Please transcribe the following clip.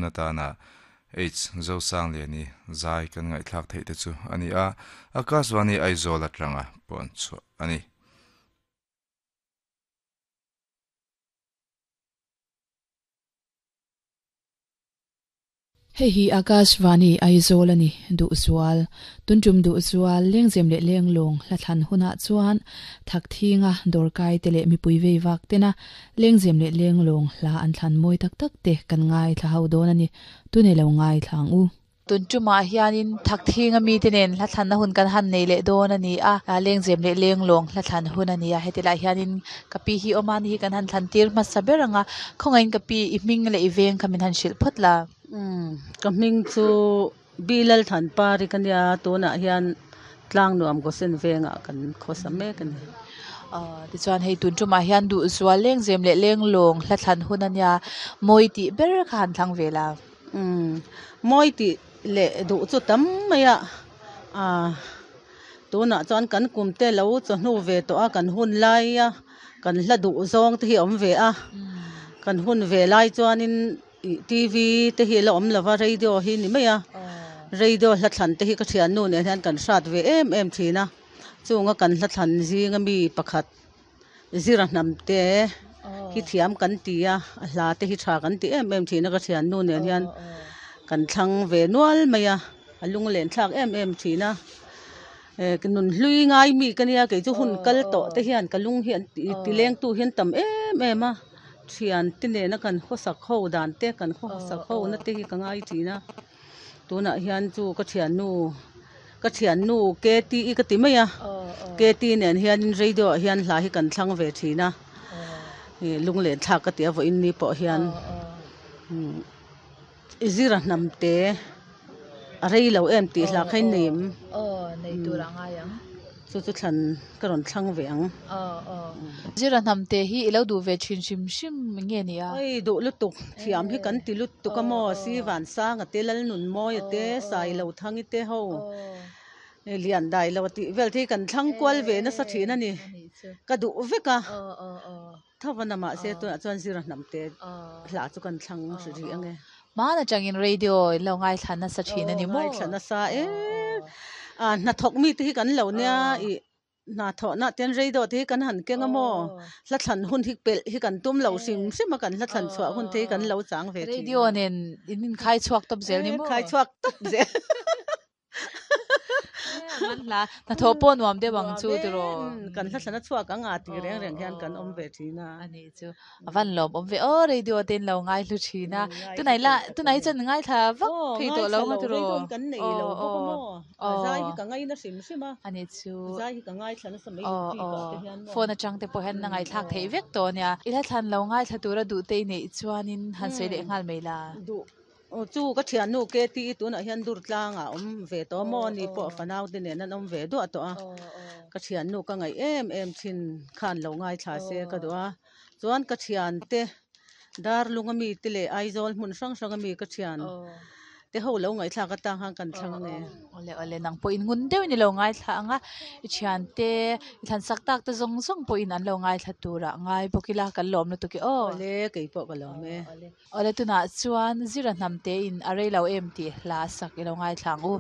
Atana H. Zosangliani zai kan ngaihthlak theih te chu a ni a, Akashvani Aizawl atanga pawn chhuah a ni. Hei hi Akashvani Aizawl a ni, Duhzual. Tuntum Duhzual, Lengzem leh Lenglawng hlathlan hunah chuan Thakthinga dawrkai te leh mipui vei vak tena Lengzem leh Lenglawng hla an thlan mawi tak tak te kan ngaithla ho dawn a ni. Tune lo ngaithla ang u. Tun tumah hianin Thakthing ami te nen hlathlanna hun kan han nei leh dawn a ni a, Lengzem leh Lenglawng hlathlan hun a ni a. Heti lai hianin ka pi hi awm a ni hi kan han thlan tir hmasa ber ang a, khawngaihin ka pi i hming leh i veng kha min han hrilh phawt la. Umm ka hming chu Bilal Thanpari ka nia tunah hian Tlangnuam Gosen vengah kan khawsa mek a ni. Aw tichuan hei tun tumah hian duhzual lengzem leh lenglawng hla thlan hun a nia mawi tih ber kha han thlang ve la. Umm mawi tih leh duh chu tam mai a ah tunah chuan kan kum te lo chawhnu ve tawh a kan hun lai a kan hla duh zawng te hi a awm ve a kan hun ve lai chuanin. Ih TV te hi a la awm lova radio hi ni mai a radio hla thlan te hi ka thiannu nen hian kan hrat ve em em thin a chunga kan hla thlan zinga mi pakhat zira hnam te hi thiam kan ti a a hla te hi tha kan ti em em thin a ka thiannu nen hian kan thlang ve nual mai a a lunglen thlak em em thin a eh nunhlui ngai mi ka nia kei chu hun kal tawh te hian ka lung hi an ti lengtu hi an tam em em a. Thiante nena kan khawsak ho dan te kan khawsak ho na te hi ka ngai thin a tunah hian chu ka thiannu ka thiannu K_T_E ka ti mai a K_T nen hianin radio ah hian hla hi kan thlang ve thin a ih lunglen thlak ka ti a vawiin ni pawh hian umm zira hnam te a rei lo em tih hla kha in nei em chu chu thlan ka rawn thlang ve ang. Zira hnam te hi i lo duh ve thin hrim hrim nge ni a? Oi duh lutuk thiam hi kan ti lutuk a maw si Vansanga te Lalnunmawia te Sailothang i te ho Lian dai lo a tih vel te hi kan thlang kual ve nasa thin a ni ka duh vek a. Thavan a mahse tunah chuan zira hnam te hla chu kan thlang hri rih ang e. Hmaan atangin radio in lo ngaithla nasa thin a ni maw? Ngaithla nasa e. A hnathawk mi te hi kan lo nia i hnathawhna ten radio te hi kan han keng a maw? Hla thlan hun hi pelh hi kan tum lo hrim hrim a kan hla thlan chhuah hun te hi kan lo chang ve thin. Radio nen in inkhai chhuak tawp zel ni maw? Khai chhuak tawp zel. Man hla hnathawh pawh nuam deuh ang chu tiraw. Kan hla thlana chhuak ang a tih reng reng hian kan awm ve thin a. Ani chu a van lawm awm ve aw radio te in lo ngai hlu thin a. Tunai la tunai chuan ngai thla vak thei tawh lo nga tiraw. Radio kan nei lo bawk a maw. Zai hi ka ngai na hrim hrim a. Ani chu. Zai hi ka ngai thla nasa mai bik ah te hian maw. Phone atang te pawh hian a ngaithlak theih vek tawh ania. I hla thlan lo ngaithla tura duh te i neih chuanin han sawi leh nghal mai la. Duh Aw chu ka thiannu KTE tunah hian dur tlangah a awm ve tawh maw ni pawh fanau te nen an awm ve duah tawh a ka thiannu ka ngaih em em thin khan lo ngaithla se ka duh a chuan ka thiante Darlung ami te leh Aizawl hmun hrang hrang ami ka thian te ho lo ngaihthlak atang khan kan thlang ania. Awle awle nang pawhin ngun deuhin i lo ngaithla ang a i thiante I thlan sak tak te zawng zawng pawhin an lo ngaithla turah ngai bawk ila kan lawm lutuk e aw. Awle kei pawh ka lawm e. Awle tunah chuan Zira hnam te in a rei lo em tih hla sak i lo ngaithla ang u.